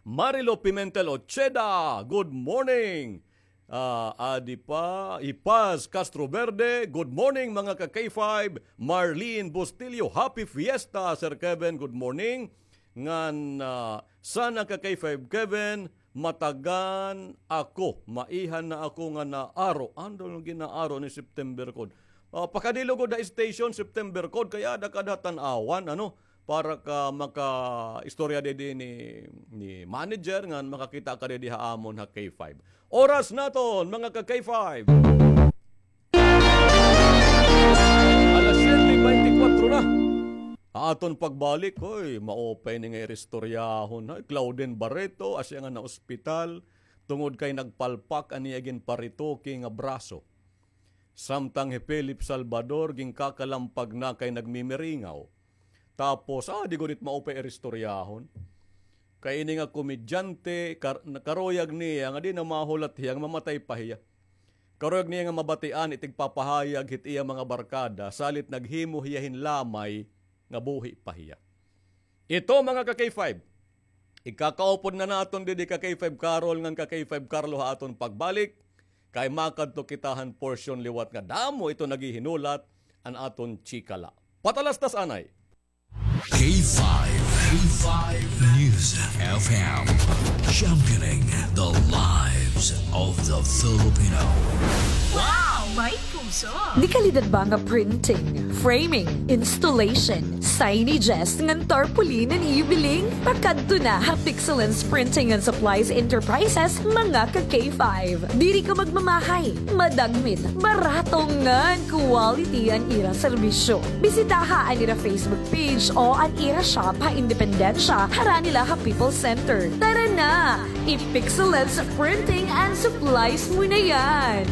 Marilo Pimentel Ocheda, good morning. Ah, adi pa, hi Paz Castro Verde, good morning, mga ka-K five. Marlene Bustillo, happy fiesta, Sir Kevin, good morning. Ngan, ah, sana ka-K five Kevin, matagan ako, maiha na ako nga naaro. Ano nga ginaaro ni September code? Ah, pakadto lugod ha station, September code, kay ada ka da tan-awan, ano? para ka makaistorya didi ni, ni manager ngan makakita ka didi ha amon ha K five. Oras naton, mga ka K five. Alas siyete beintikwatro na. Ha aton pagbalik, hoy, maupay ini nga iristoryahon, hoy, Claudine Barreto, asya nga naospital tungod kay nagpalpak an iya ginparetoke nga braso. Samtang hi Philip Salvador ginkakalampag na kay nagmimiringaw. Tapos, ah, di gud it maupay iristoryahon. Kay ini nga komedyante, kar-, karuyag niya nga di na mahulat hiya nga mamatay pa hiya. Karuyag niya nga mabatian it igpapahayag hit iya mga barkada, salit naghimo hiya hin lamay nga buhi pa hiya. Ito, mga ka K five, ikakaupod na naton didi ka K five Carol ngan ka K five Carlo ha aton pagbalik, kay makadto kita han porsyon liwat nga damo ito naghihinulat an aton chikala. Patalastas anay. K five, K five News F M, championing the lives of the Filipino. Wow! May puso! Dekalidad ba nga printing, framing, installation, signages, ngan tarpaulin an iyo biling? Pakadto na ha Pixelens Printing and Supplies Enterprises, mga ka K five. Diri ka magmamahay, madagmit, barato ngan quality an ira serbisyo. Bisitaha an ira Facebook page o an ira shop ha Independencia, harani la ha People's Center. Tara na! I-Pixelens Printing and Supplies mo na yan!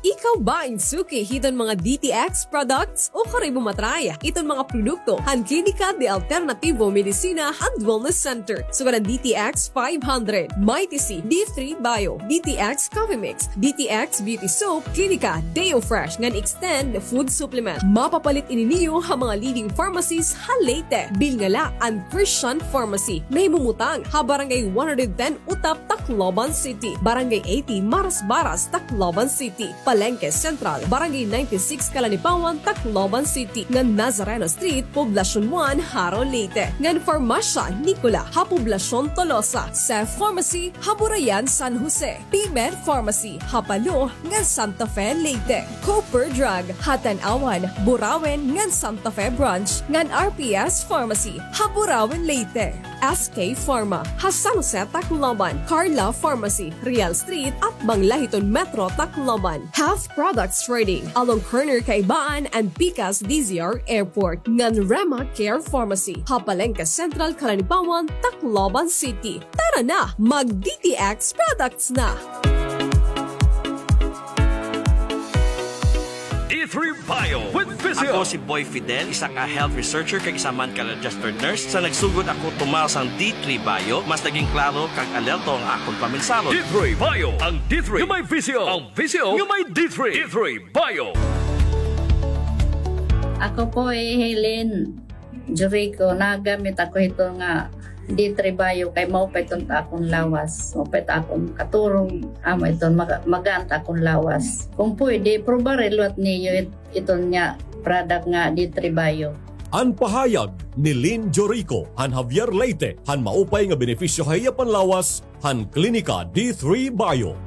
Ikaw ba in suki hiton mga D T X products? Ukon imo ma-try iton mga produkto han Klinika de Alternativo Medicina and Wellness Center. Sugad an D T X five hundred, Mighty C, D three Bio, D T X Coffee Mix, D T X Beauty Soap, Klinika Deo Fresh, ngan Extend Food Supplement. Mapapalit ini niyo ha mga leading pharmacies ha Leyte. Bilnga la an Christian Pharmacy. Nahimumutang ha Barangay one hundred ten Utap, Tacloban City. Barangay eighty Marasbaras, Tacloban City. Palengke Central, Barangay ninety-six Calanipawan, Tacloban City, ngan Nazareno Street, Poblacion one, Jaro, Leyte, ngan Farmacia Nicola ha Poblacion Tolosa, Seth Pharmacy ha Burayan, San Jose, P-Med Pharmacy ha Palo ngan Santa Fe, Leyte, Cooper Drug ha Tanauan, Burauen ngan Santa Fe Branch, ngan R P S Pharmacy ha Burauen, Leyte. S K Pharma ha San Jose, Tacloban, Carla Pharmacy, Real Street, atbang la hiton Metro Tacloban. Health Products Trading, along corner Kaibaan and Pikas D Z R Airport, ngan Rema Care Pharmacy ha Palengke Central, Calanipawan, Tacloban City. Tara na, mag D T X products na! D three Bio with Physio. Ako si Boy Fidel, isa ka health researcher kag isa man ka registered nurse. Sa nagsugod ako tumar sang D three Bio, mas naging klaro kag alerto ang akon paminsahon. D three Bio, ang D three nga may Physio, ang Physio nga may D three. D three Bio. Ako po hi Helen Jurico, nagamit ako hito nga D three Bio kay maupay iton ta akon lawas. Maupay ta akon katurog, amo iton maga-, magaan ta akon lawas. Kung pwede, probare liwat niyo it-, iton nga product nga D three Bio. An pahayag ni Lynn Jorico han Javier, Leyte, han maupay nga benepisyo ha iya panlawas han Klinika D three Bio.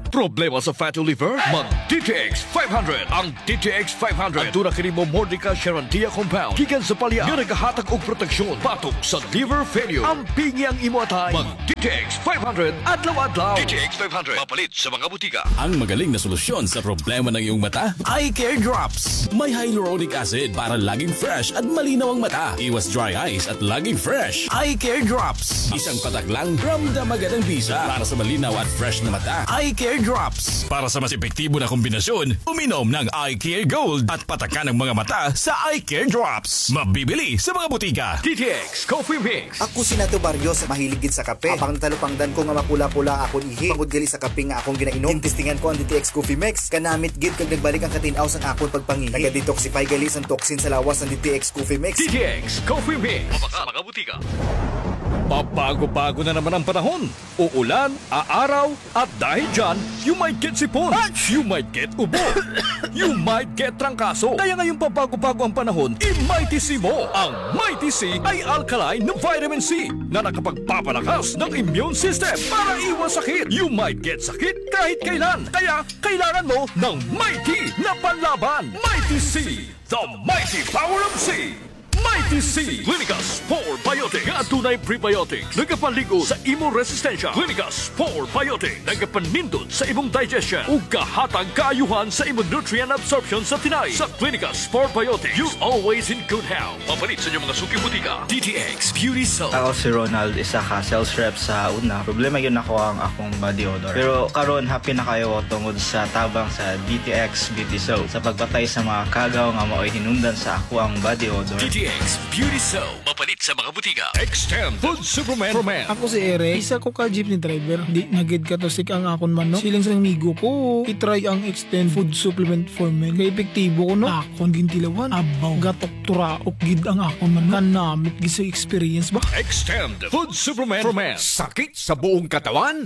Problema sa fatty liver? Mag D T X five hundred. Ang D T X five hundred aduna kini Momordica charantia compound gikan sa palya nga nagahatag og proteksyon batok sa liver failure. Ampingi ang imo atay. Mag D T X five hundred adlaw-adlaw. D T X five hundred, mapalit sa mga butika. Ang magaling na solusyon sa problema ng iyong mata, Eye Care Drops. May hyaluronic acid para laging fresh at malinaw ang mata. Iwas dry eyes at laging fresh. Eye Care Drops. Isang patak lang, ramdam agad ang bisa. Para sa malinaw at fresh na mata, Eye Care Drops. Para sa mas epektibo na kombinasyon, uminom ng Eye Care Gold at patakan ang mga mata sa Eye Care Drops. Mabibili sa mga butika. D T X Coffee Mix. Ako si Nato Barrios, mahilig gid sa kape. Apang natalupangdan ko nga mapula-pula akon ihi tungod gali sa kape nga akon ginainom. Ginestingan ko an D T X Coffee Mix. Kanamit gid kag nagbalik ang katin-aw sang akon pagpangihi. Naga-detoxify gali sang toxin sa lawas an D T X Coffee Mix. D T X Coffee Mix. Mabaka, mga butika. Pabago-bago na naman ang panahon. Uulan, aaraw, at dahil dyan, you might get sipon, you might get ubo, you might get trangkaso. Kaya ngayong pabago-bago ang panahon, i-Mighty C mo. Ang Mighty C ay alkaline na vitamin C na nakapagpapalakas ng immune system para iwas sakit. You might get sakit kahit kailan. Kaya kailangan mo ng Mighty na panlaban. Mighty C, the mighty power of C. Mighty C Clinica Spore Biotic nga adunay prebiotics, nagapaligo sa imo resistensya. Clinica Spore Biotic, nagapanindot sa imong digestion ug gahatag kaayuhan sa imo nutrient absorption sa tinai. Sa Clinica Spore Biotic, you always in good health. Mapalit sa inyong mga suking butika. D T X Beauty Soap. Ako si Ronald, isa ka sales rep sa una. Problema gyud nako ang akong body odor. Pero karon, happy na kayo tungod sa tabang sa D T X Beauty Soap sa pagpatay sa mga kagaw nga mao'y hinungdan sa ako ang body odor. D T X Beauty Soap. Mapalit sa mga butika. Extend Food Supplement for Men. Ako si Eric. Isa ko ka jeepney driver. Di na gid katusik ang akon manok. Siling sa amigo ko, i-try ang Extend Food Supplement for Men. Kay epektibo ko, no? Akon gintilawan. Abaw, gatok turaok gid ang akon manok. Kanamit gid sa experience ba? Extend Food Supplement for Men. Sakit sa buong katawan?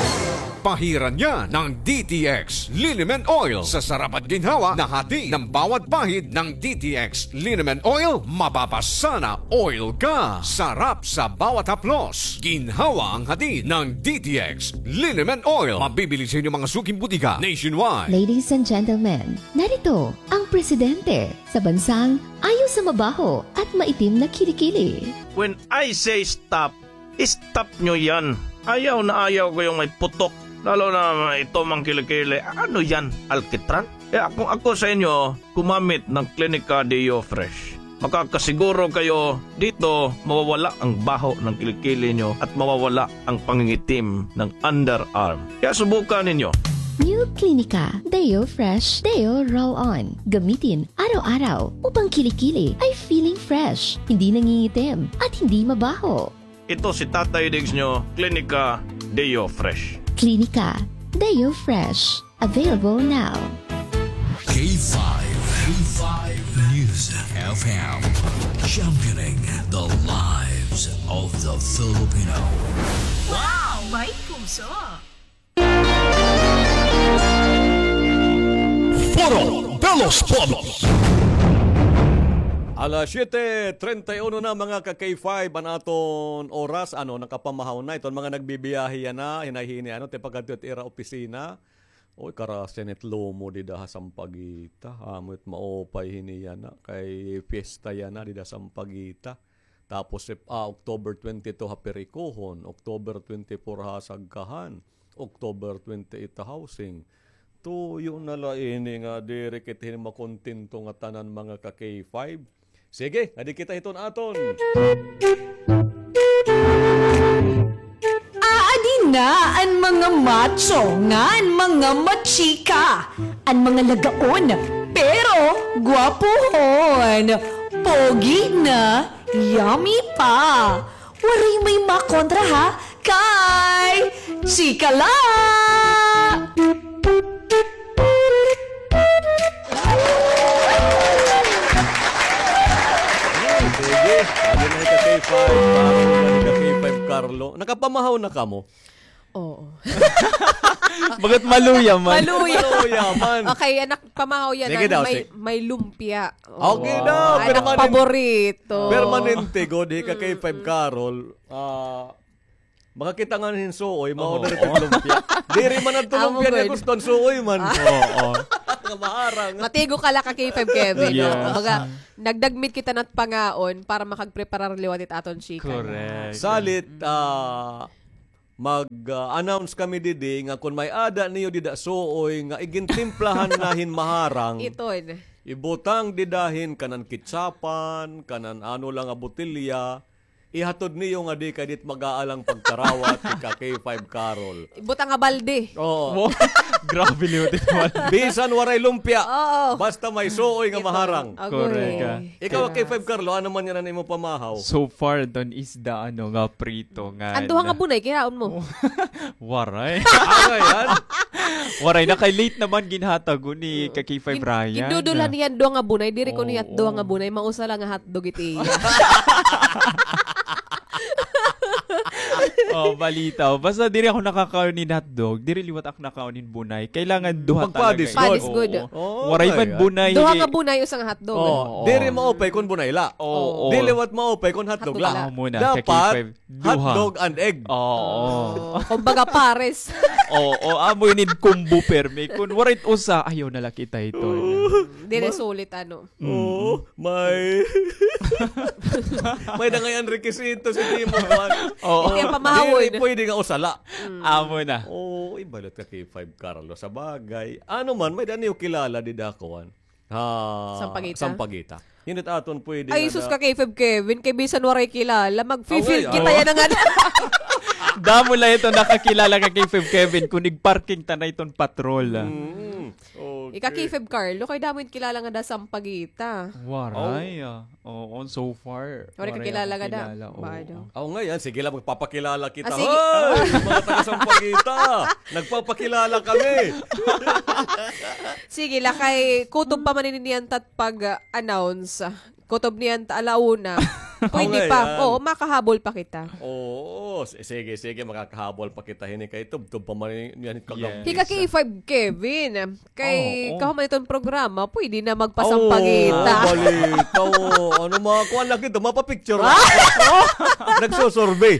Pahiran niya ng D T X Liniment Oil. Sa sarap at ginhawa na hati ng bawat pahid ng D T X Liniment Oil, mapapasana oil ka. Sarap sa bawat haplos. Ginhawa ang hatid ng D T X Liniment Oil. Mabibili sa inyong mga suking butika nationwide. Ladies and gentlemen, narito ang presidente sa bansang ayaw sa mabaho at maitim na kilikili. When I say stop, stop nyo yan. Ayaw na ayaw ko yung may putok. Lalo na ito mang kilikili. Ano yan? Alkitran? Kaya kung ako sa inyo, gumamit ng Clinica Deo Fresh. Makakasiguro kayo dito mawawala ang baho ng kilikili nyo at mawawala ang pangingitim ng underarm. Kaya subukan ninyo. New Clinica Deo Fresh Deo Roll-On. Gamitin araw-araw upang kilikili ay feeling fresh, hindi nangingitim, at hindi mabaho. Ito si Tatay Diggs nyo, Clinica Deo Fresh. Clinica Deo Fresh. Available now. K five, K five News F M, championing the lives of the Filipino. Wow! May puso! Foro de los Pueblos. Alas siyete treinta y uno na, mga ka K five, an aton oras. Ano, nakapamahaw na iton mga nagbibiyahe yana, hinay-hini, ano, tipakadto it ira opisina. Oy, karasya nit lomo dida ha Sampaguita. Amo it maupay hini yana, kay fiesta yana dida Sampaguita. Tapos, Sep-, ah, October twenty-two ha Pericojon, October twenty-four ha Sagkahan, October twenty-eight ha Housing. Tuyo na la ini nga diri kita hini makontento nga tanan, mga ka K five. Sige, adi kita hiton aton. Aadi na an mga macho ngan mga machika, an mga lagaon, pero gwapohon, pogi na, yummy pa. Waray may makontra, ha? Kay chika la! Sige, adi na ka K five, Carlo, adi ka K five, Carlo. Nakapamahaw na kamo? Oo. Bagat maluya man. Maluya. Maluya man. Okay, anak, pamahaw yana. Sige daw, may, sige. May lumpia. Oo. Okay daw, anak, permanente. Paborito. Permanente gud, hi ka K five, Carol. Ah, makakita ngani hin suoy, ma-order it lumpia. Diri man adto lumpia niya gusto, an suoy man. Oo. Nga maharang. Matigo ka la ka K five, Kevin. Yes. Baga, nagdagmit kita na't pangaon para makagpreparar liwat it aton chika. Correct. Salit, ah, mag, ah, announce kami didi nga kon may-ada niyo dida suoy nga igintimplahan na hin maharang, iton, ibutang dida hin kanan kitsapan, kanan ano la nga botelya, ihatod niyo ngadi kay dit mag-aalang pagkarawat hi ka K five Carol. Ibutang nga balde. Oo. Wow. Grabe liwat it balde. Bisan waray lumpia. Oo. Basta may suoy nga maharang. Agoy. Correct ka. Ikaw, K five Carlo, ano man yana an imo pamahaw? So far, don isda, ano, nga prito, nga an duha nga bunay, kinaon mo? Waray. Ano yan? Waray na kay late naman ginhatag ni ka K five Ryan. Gindudulhan niya an duha nga bunay, diri ko niya duha nga bunay, mausa la nga hotdog it iya. Oh, balita. Basta diri ako nakakaon hin hotdog. Diri liwat ako nakaon hin bunay. Kailangan duha talaga. Magpadis gud. Padis gud. Oo. Waray man bunay. Duha nga bunay, usa nga hotdog. Oo. Diri maupay kon bunay la. Oo. Diri liwat maupay kon hotdog la. Amo na, dapat hotdog and egg. Oo. Kumbaga, pares. Oo, amo ini combo permi. Kon waray usa, ayaw na la kita ito. Diri sulit, ano. Oo, may, may da ngay-an rekisito si Timo, kuan. Oo. Kaya pamahawon. Diri pwede nga usa la. Amo na. Oo, ibalat ka kay Five Carlo. Sa bagay. Ano man, may da niyo kilala dida, kuan. Ha, Sampaguita? Sampaguita. Hindi aton pwede. Ay, sus, ka kay Five Kevin, kay bisan waray kilala, mag-feel kita yana nga. Damo la ito nakakilala ka kay Five Kevin, kung nag-parking ta na iton patrol. Mm. Okay. Ika kay Feb Carlo, kay damo it kilala nga da Sampaguita. Waray, ah. Oo, so far. Waray ka kilala nga da. Waray ako kilala, oo. Aw, ngay-an, sige la, magpapakilala kita. Ah, sige. Hoy, mga taga Sampaguita, nagpapakilala kami. Sige la, kay kutob pa man ini niyan tat pag-announce. Kutob niyan ta ala una. Pwede pa. Oo, makahabol pa kita. Oo, s-, sige, sige, makakahabol pa kita hini kay tubtob pa man niyan kagab-. Hika kay Five Kevin. Kay kahuman iton programa, pwede na magpasampagita. Oo, balita, oo. Ano, mga kuan lang dito, mapapicture lang. Nagsusurvey.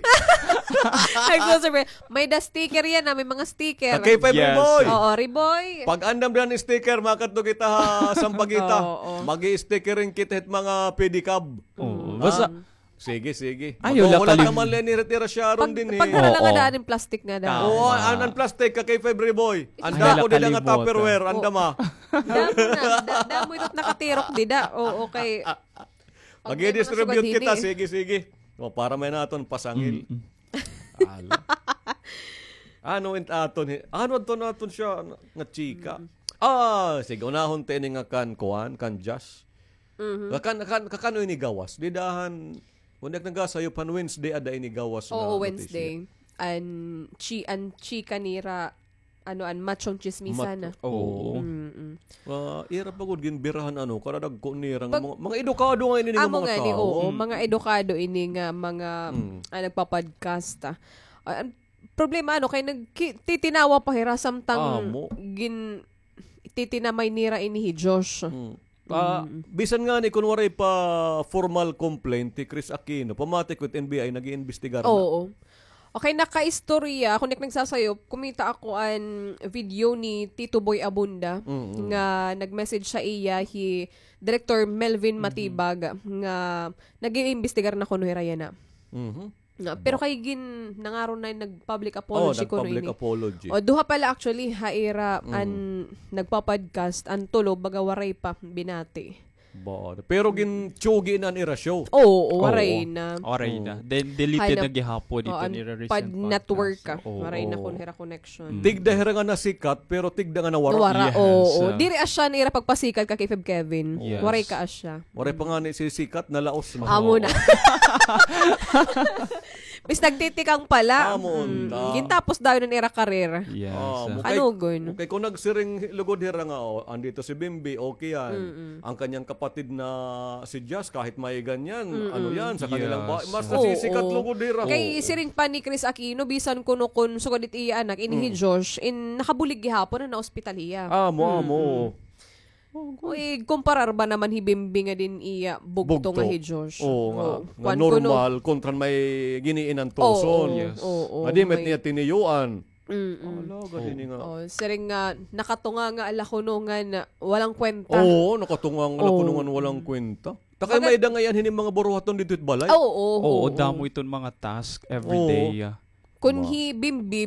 Nagsusurvey. May da sticker yana, may mga sticker. Kay Five Riboy. Oo, Riboy. Pag-andam dan sticker, makadto kita ha Sampaguita. Oo. Mag-i-stickering kita hit mga pedicab. Oo. Basta, sige, sige. Ayaw la kalimot. Wala naman la ini retira siya ron dinhi. Pagdara la nga daan hin plastic nga daan. Oo, an, an plastic ka kay Five Riboy. An dako dida nga Tupperware, andama. Damo na, da-, damo ito nakatirok dida. Oo, kay mag-i-distribute kita, sige, sige. O, para may naton pasangil. Ala. Ano it aton hi-, ano adto naton siya nga chika? Ah, sige, unahon ta ini nga kan kuan, kan Josh. Kakan-, kan-, kakano ini gawas? Dida han, kun ak nagasayop han Wednesday, ada ini gawas nga notisya. Oo, Wednesday. An chi-, an chika nira, ano, an machong tsismisan. Oo. Ah, ira pa gud ginbirahan, ano, kada dagko nira nga mga, mga edukado nga ini nga mga tawo. Oo, mga edukado ini nga mga, ah, nagpa-podcast. Ah, an problema, ano, kay nagki-, titinawa pa hira samtang gin-, titinamay nira ini hi Josh. Ah, bisan ngani kun waray pa formal complaint hi Chris Aquino, pamati ko it N B I nag-iimbestigar na. Oo. Okay, nakaistorya, kun di ak nagsasayop, kumita ako an video ni Tito Boy Abunda, nga nag-message sa iya hi Director Melvin Matibag, nga nag-iimbestigar na kuno hira yana. Pero kay gin-, nangaron na nag-public apology kuno ini. O, duha pala actually, ha ira an nagpa-podcast, an tulo, baga waray pa binati. Pero gintsugi na an ira show. Oo, waray na. Waray na. Then deleted na gihapon ito nira recent podcast. Pag network ka, waray na kuno hira connection. Tigda hira nga nasikat, pero tigda nga nawara. Nawara, oo. Diri asya an ira pagpasikat ka kay Feb Kevin. Waray ka asya. Waray pa ngani sisikat, nalaos na. Amo na. Bis nagtitikang pala. Amo unta. Gintapos dayon an ira career. Yes. Kanugon. Okay, kung nagsiring lugod hira nga, oh, andito si Bimbi, okay yan. Ang kanyang kapatid na si Jazz, kahit may ganyan, ano yan, sa kanilang ba-, mas nasisikat lugod hira. Kay siring pa ni Chris Aquino, bisan kuno kun sugad it iya anak, ini hi Josh, in nakabulig gihapon, na-hospital hiya. Amo, amo. Uy, kumparar ba naman hi Bimbi nga din iya bugto nga hi Josh? Oo nga. Nga normal, kontra may giniinantoson. Yes. Oo, nga di met niya tiniyuan. Ala, gani nga. Oh, siring nga, nakatunga nga ala kuno nga walang kwenta. Oo, nakatunga nga ala kuno nga walang kwenta. Takay may dangayan hini mga buruhaton dito it balay. Oo, oo. Oo, damo iton mga task every day. Kun hi Bimbi,